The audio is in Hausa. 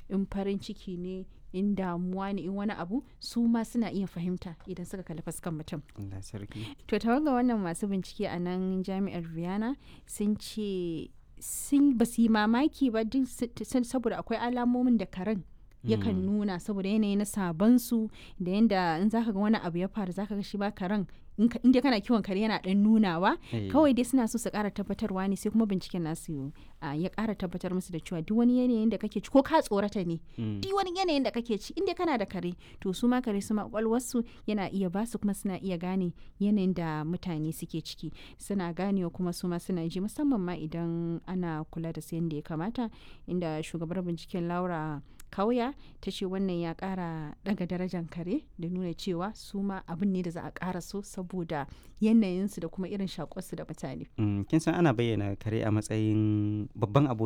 In farin ciki ne, in damuwa ne, in wani abu, su ma suna iya fahimta idan suka kalli fuskan mutum. Allah sarki. To, tawaga wannan masu bincike a nan jami'ar Vienna sun ce sun ba su yi mamaki ba duk saboda akwai alamomin da karen yakan nuna saboda yanayi na sabon su da yanda in zaka ga wani abu ya faru, zaka ga shi ba karen, in dai kana kiwon kare, yana dan nunawa. Kawai dai suna so su kara tabbatarwa ne, sai kuma binciken nasu ya kara tabbatar musu da cewa duk wani yanayin da kake ci, ko ka tsorata ne, duk wani yanayin da kake ci, in dai kana da kare, to su ma kare su ma kwakwalwarsu yana iya ba su, kuma suna iya gane yanayin da mutane suke ciki, suna ganewa kuma su ma suna ji, musamman ma idan ana kula da su yadda ya kamata. Inda shugabar binciken Laura Kauya ta ce wannan ya kara daga darajar kare da nuna cewa su ma abin ne da za a kara so saboda yanayinsu da kuma irin shaƙonsu da mutane. Kin san ana bayyana kare a matsayin babban abokin